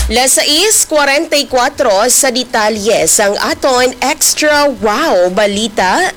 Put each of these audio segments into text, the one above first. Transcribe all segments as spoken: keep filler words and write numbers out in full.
Las sais cuarenta y cuatro sa detalye sang aton Extra Wow Balita.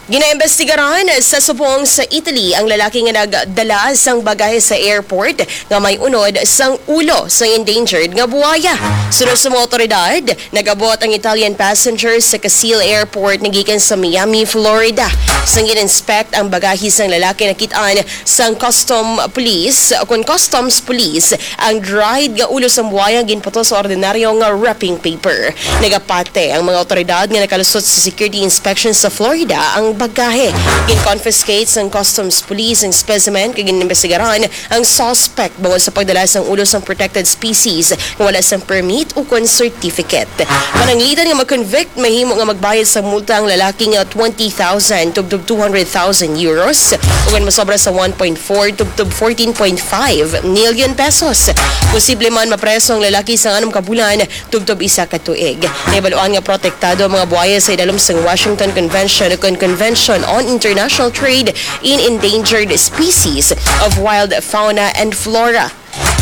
Ginaimbestigaran sa subong sa Italy ang lalaki nga nagdala sang bagahe sa airport nga may unod sang ulo sang endangered nga buwaya. Suno sa mga awtoridad, nag-abot ang Italian passenger sa Casil Airport nga gikan sa Miami, Florida. Sang gin-inspect ang bagahe sang lalaki, nakit-an sang custom police, kun customs police, ang dried nga ulo sang buwaya ginputos sa ordinaryo nga wrapping paper. Nagapati ang mga awtoridad nga nakalusot sa security inspection sa Florida ang bagahe. Gin-confiscate sang customs police ang specimen kag gin-imbestigaran ang suspect bangod sa pagdala sang ulo sang protected species nga wala sang permit ukon certificate. Pananglitan nga ma-convict, mahimo nga magbayad sang multa ang lalaki nga twenty thousand tubtob two hundred thousand euros, ug kon masobra sa one point four tubtob fourteen point five million pesos. Posible man mapreso ang lalaki sa anom ka bulan tubtob isa ka tuig. Nahibaluan nga protektado ang mga buaya sa idalom sang Washington Convention ukon Convention on International Trade in Endangered Species of Wild Fauna and Flora.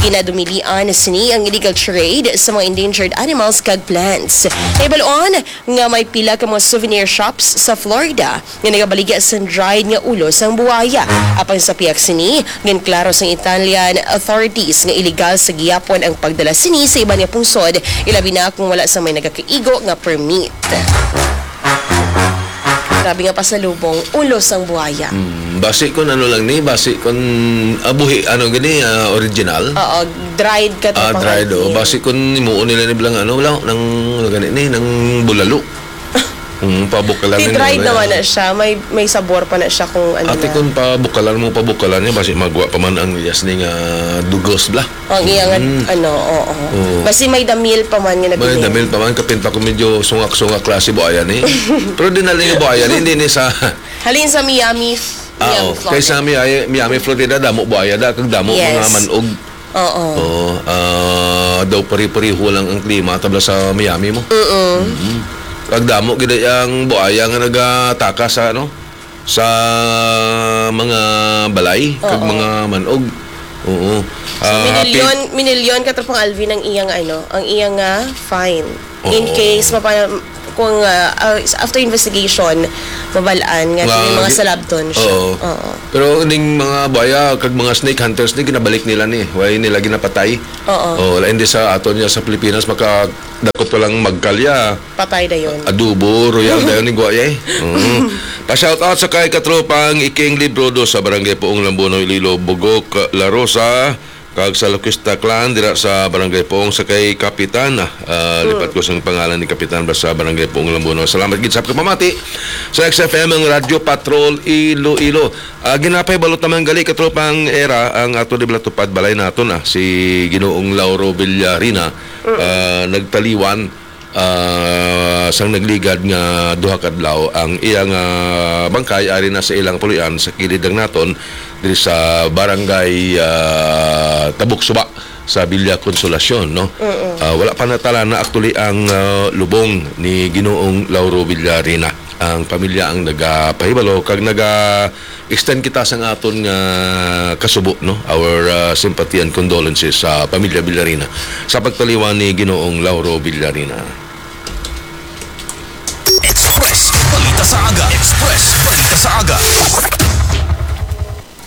Ginadumilian sini ang illegal trade sa mga endangered animals kag plants. Nahibaluan nga may pila ka mga souvenir shops sa Florida nga nagabaligya sang dried nga ulo sang buaya. Apang sa pihak sini, ginklaro sang Italian authorities nga iligal sa gihapon ang pagdala sini sa iban nga pungsod, ilabi na kung wala sang may nagakaigo nga permit. Grabe nga pasalubong, ulo sang buaya. Mm, basi kun ano lang ni, basi kun, ah, buhi, ano gani, ah, original? Oo, dried ka. Ah, tropang dried, oh. Alvin. Basi kun himuon nila ni bilang ano, wala, nang, ano gani ni, nang bulalo. Mm, pabukalan. Di nila dried na naman na siya, may, may sabor pa na siya kung ano. Ate, na. Kun pabukalan mo, pabukalan niya, basi magwa pa man ang iyas ni nga dugos, bla. Ang iya nga, mm, ano, oo. Oo. Basi may damil pa man nga. May nabili. Damil pa man, kapin pa kung medyo sungak-sungak klase buaya ni. Pero di na lang yung buaya ni, hindi ni sa. Halin sa Miami, ah, Miami, oh, Florida. Kay sa Miami, Miami, Florida, damo buaya da, kag damo. Yes. Mga manog. Oo. Oo, ah, daw pare-pareho lang ang klima tabla sa Miami mo. Mm-mm. Mm-mm. Kag damo gid ang buaya nga nagataka sa, ano, sa mga balay kag, oo, mga manog. Oo. So, ah, minilyon, pi- minilyon ka, Tropang Alvin, ang iyang, ano, ang iyang, ah, fine. In, oo, case mapa-, kung, ah, ah, after investigation, mabal-an nga, nga may mga gi-, salabton siya. Oo. Oo. Pero ning mga buaya kag mga snake hunters ni, ginabalik nila ni. Wala nila ginapatay. Oo. Oo, lain di sa aton niya sa Pilipinas, maka dako pa lang magkalya. Patay dayon. Adobo, royal dayon ni Guay, eh. Oo. Pa-shout out sa kay katropang Iking Librodo sa Barangay Puong Lambuno, Iloilo, Bugok, La Rosa, kag sa Loquista Clan dira sa Barangay Puong, sa kay Kapitan, ah, ah, hmm, lipat ko sang pangalan ni Kapitan ba sa Barangay Puong Lambuno. Salamat gid sa pagpamati sa X F M, ang Radyo Patrol Iloilo. Ah, ginapahibalo ta man gali, katropang Era, ang ato di bala tupad balay naton, ah, si Ginoong Lauro Villarina, mm, ah, nagtaliwan, ah, sang nagligad nga duha ka adlaw ang iyang, ah, bangkay ari na sa ilang puloy-an sa kilid lang naton diri sa barangay, ah, Tabok Suba sa Villa Consolacion, no? Mm-mm. Ah, wala pa natalana actually ang, ah, lubong ni Ginoong Lauro Villarina. Ang pamilya ang nagapahibalo kag naga-extend kita sang aton nga kasubo, no? Our, ah, sympathy and condolences sa pamilya Villarina sa pagtaliwan ni Ginoong Lauro Villarina. Express Balita sa Aga. Express Balita sa Aga.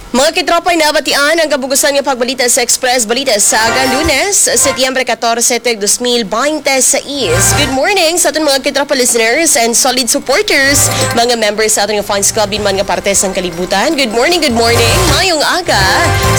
Mga kitropa, nabatian ang kabugusan nga pagbalita sa Express Balita sa Aga, Lunes, Setyembre catorce, tuig dos mil baynte sais. Good morning sa aton mga kitropa listeners and solid supporters, mga members sa aton nga fans club, din man nga parte sang kalibutan. Good morning, good morning. Mayong aga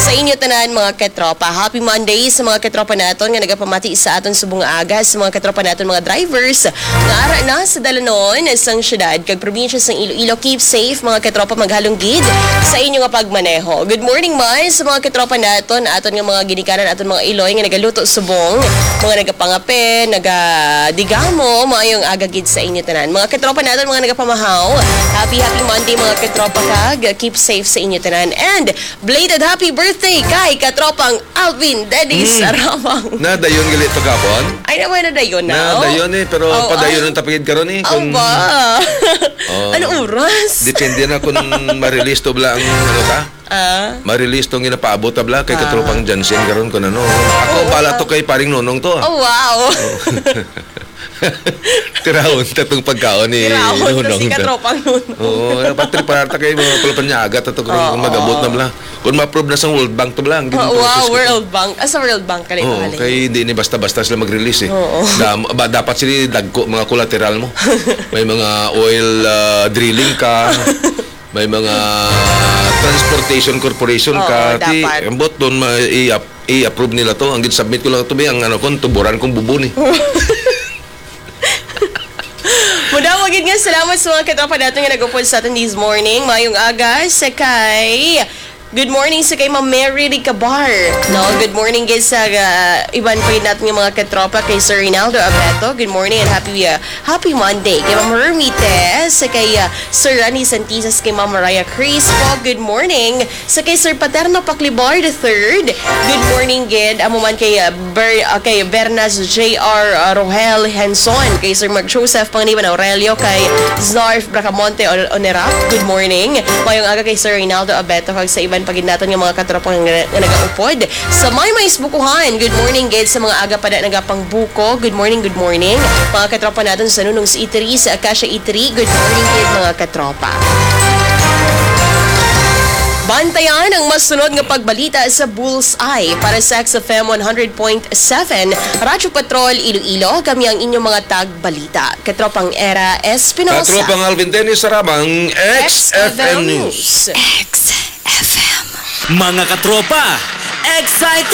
sa inyo tanan, mga kitropa. Happy Monday sa mga kitropa naton nga nagapamati sa aton subong nga aga, sa mga kitropa naton, mga drivers nga ara na sa dalanon sang syudad kag probinsya sang Iloilo. Keep safe, mga kitropa, maghalong gid sa inyo nga pagmaneho. Oh, good morning man sa mga katropa naton, aton nga mga ginikanan, aton mga iloy nga nagaluto subong, mga nagapangape, nagadigamo, maayong aga gid sa inyo tanan. Mga katropa naton, mga nagapamahaw, happy, happy Monday, mga katropa, kag keep safe sa inyo tanan. And belated happy birthday kay katropang Alvin Dennis Mm. Aramang. Na dayon gali to kapon? Ay, naman na dayon na. Na dayon eh, pero Oh, padayon ah. Ang tapagid karon eh. Ang Kung, ba? Oh. Anong oras? Depende na kung ma-release to bla ang ano ta. Ah. Ma-release tong ginapaabot ta bla kay Ah. katropang Jansen karon kung ano. Ako Oo, bala ah. To kay paring Nonong to. Oh, wow. Tirahon ta tong pagkaon ni Tirahon ta Nonong. si katropang Nonong. Oo, dapat preparar ta kay mga palapanyaga ta to kung Oo. mag-abot na bla. Kung ma-approve na sang World Bank to bla. Ang Oh, wow, gin-process ko. World Bank. Ah, sa World Bank ka nito, Oo, halin. Kay hindi ni basta-basta sila mag-release eh. Oo. Dam- ba, dapat sila dagko mga collateral mo. May mga oil ah, drilling ka, may mga transportation corporation Oo, ka. Ti, dapat. Ambot doon ma- i-ap- i-approve nila to. Ang gin-submit ko lang to, be, ang ano ko, tuburan kong bubo ni. Mudamo gid nga salamat sa mga katropa natin nga nag-upod sa atin this morning. Mayong aga sa kay Good morning sa kay Ma'am Mary Ricabar. No, good morning gid sa ah, iban pa gid natin nga mga katropa kay Sir Rinaldo Abeto. Good morning and happy ah, happy Monday. Kay Ma'am Hermite, sa kay ah, Sir Rani Santisas, kay Ma'am Mariah Crispo. Good morning. Sa kay Sir Paterno Paclibar the third. Good morning gid. Amo man kay ah, Ber, ah, kay Bernas J R ah, Rohel Henson, kay Sir Mark Joseph Panganiban Aurelio, kay Zarf Bracamonte On- Onerap. Good morning. Mayong aga kay Sir Reynaldo Abeto kag sa iban pa gid naton nga mga katropa nga, nga nagaupod sa Maymay Bukuhan. Good morning gid sa mga aga pa na nagapangbuko. Good morning, good morning. Mga katropa naton sa Nunong sa Itri, sa Acacia Itri. Good morning gid mga katropa. Bantayan ang masunod nga pagbalita sa Bullseye para sa X F M one hundred point seven Radyo Patrol Iloilo. Kami ang inyong mga tagbalita. Katropang Era Espinosa. Katropang Alvin Dennis Sarabang, X F M News. X F M. Mga katropa, exciting!